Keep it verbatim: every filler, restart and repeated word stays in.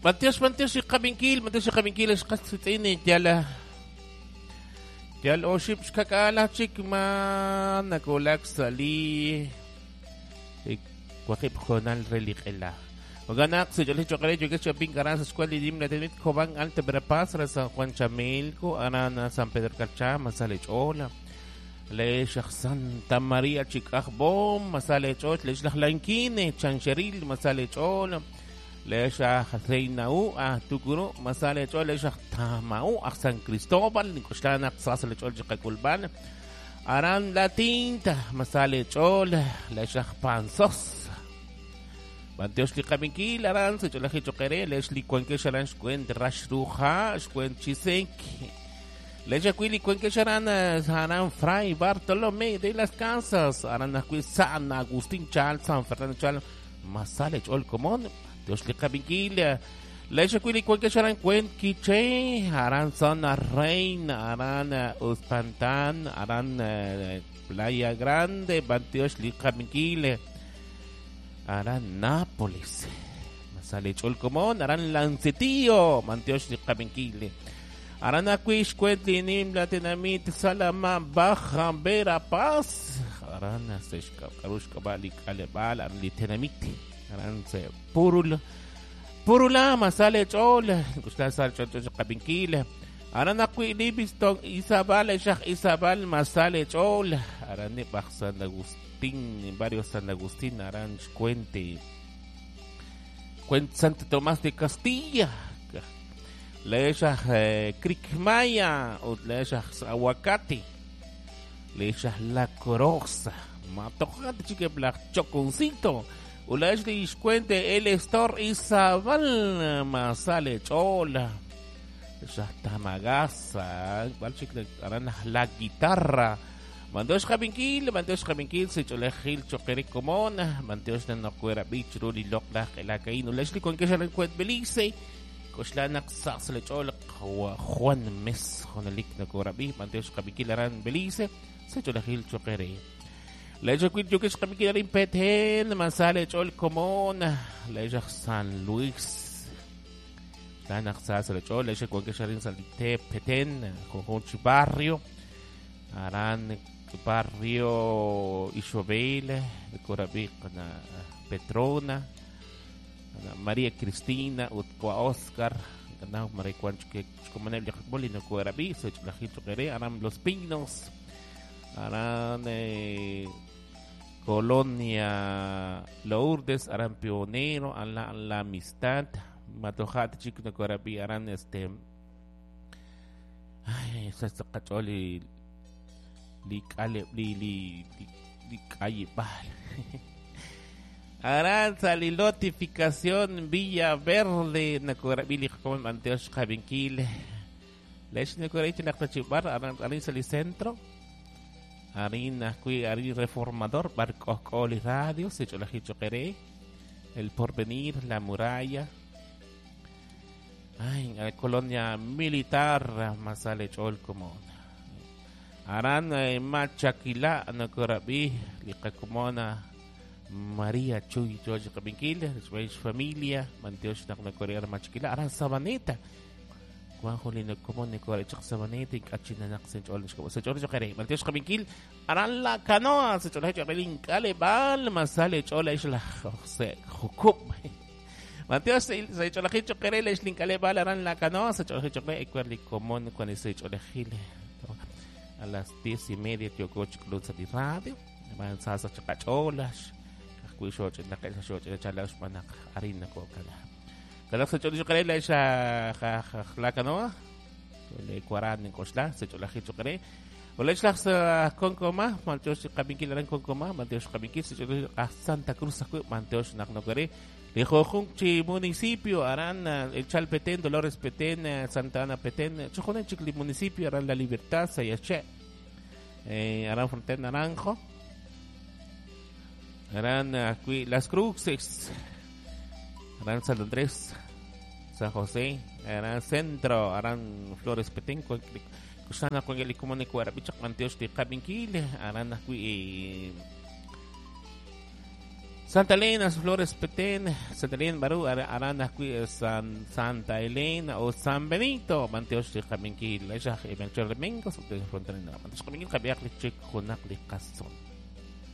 Matios, matios, xqabinkil, matios, xqabinkil, xqasitini, yala. Yal oxib xkakala chik man nakulak sali. Waqib jonal reliqela. Oganak se yo le chocaré yo que chapin caranza escuela y dimna tenit Cobán Alta Verapaz San Juan Chamelco Arana San Pedro Carchá Masale Chola Le Santa María Chicajbom Masale Choch Le Lanquine Chancheril Masale Chola Le Reina U a Tucuru Masale Chola Le Tamau a San Cristóbal Nicostlana Sasale Chol Chicaculban Aran La Tinta Masale Chola Le Panzos Manteos li qabinkil aran se cholaji choqere lesh li cuenque sharan xkuen rashruja xkuen chisek lesh li cuenque sharan haran Fray Bartolomé de las Casas aran ajwi San Agustín Chal San Fernando Chal Masale chol comón Dios li qabinkil lesh li cuenque sharan cuen quiche aran Zona Reina aran Uspantán aran Playa Grande Banteos li qabinkil Aran Nápoles, Masale Cholcomón, Aran Lancetío, Manteosh de Cabenquile, Aran Aquish, Cuetlinim, Latinamit, Salama, Baja, Verapaz, Aran Seshka, Karushka, Balik, Alebal, Aran Litenamit, Aran Se Purul, Purula, Masale Chol, Gustasal Chol Cabenquile, Aran Aqui, Livingston, Isabal, Shah Isabal, Masale Chol, Aran Baj San Agustín, barrio San Agustín, Aranch Cuente, Cuente Santo Tomás de Castilla, Lecha eh, Cricmaya, Lecha Aguacate, Lecha La Corosa, Matojate Chique Black Choconcito, Ulash de Cuente, El Estor Isabal, Masale Chola, Lecha Tamagasa, La Guitarra, Manteos Jabinkil, Manteos Jabinkil, se cholejil choquere comona, Manteos nanocuera bichru, locla, el Leslie con que se encuentra Belice, Coshlanac, Sasle Chol, Juan Mes, Jonalik, Nacorabi, Manteos Jabinkil, Aran Belice, se cholejil choquere. Lecho Yukish Jabinkil, Arin Petén, Masale Chol Comona, Lecho San Luis, Lanac, Sasle Chol, Lecho con que se Salite Petén, Conjunchi Barrio, Aran Barrio Isobel, Corabí, Petrona, María Cristina, Utcoa Oscar, Aran Los Pinos, Aran eh, Colonia Lourdes, Aran Pionero, Aran La Amistad, Matojat, Chico Corabí, Aran este. Ay, esa es cacholi. Li kale li li li calle bal. Aranza li notificación Villa Verde nakorabili como Manteos Jabenquil. Lesh nakorabili naktachibar aran arin li centro. Arin akui arin reformador barco coli radio se cholajicho queré. El Porvenir, La Muralla. Ay, la colonia militar Masale Chol como Aran eh, Machaquila nakorabi liqakumona María Chuy George Cabinkil, su familia, Manteosh nakorear Machaquila, Aran Sabaneta. Juanjo linokomon nikorechaq Sabaneta y kachinanaq senchol senchol chaqere. Manteosh Cabinkil, Aran la canoa, senchol chaqelin kale bal masale chola isla José Jucup. Manteosh se cholajicho querele islinkale bal Aran la canoa, senchol chaqere ecuerlicomon con ese cholejile. A las diez y media tiococh club de radio avanzas chacacholas cuiso la casa chalash manak harina cocala cada se cholo querele esa la canoa le cuaran cosla se cholajicho quere o le la concoma manteos cabinkil aran concoma manteos cabinkil se cholo a Santa Cruz manteos nakno quere le jojunchi municipio Aran el Chalpetén Dolores Petén Santa Ana Petén Chojonen chicli municipio Aran La Libertad Sayache eh, Aran Frontera Naranjo Aran aquí Las Cruces Aran San Andrés San José Aran Centro Aran Flores Petén Cusana con el comune Cuarapichac Manteos de Cabinkil Aran aquí Santa Elena, Flores Petén, Santa Elena Barú, Arana San Santa Elena o San Benito, Manteosh de Jaminkil, Ella Melchor Domingos, Fronterina, Manteosh Jaminkil, Javier Lichik, Junak Licason.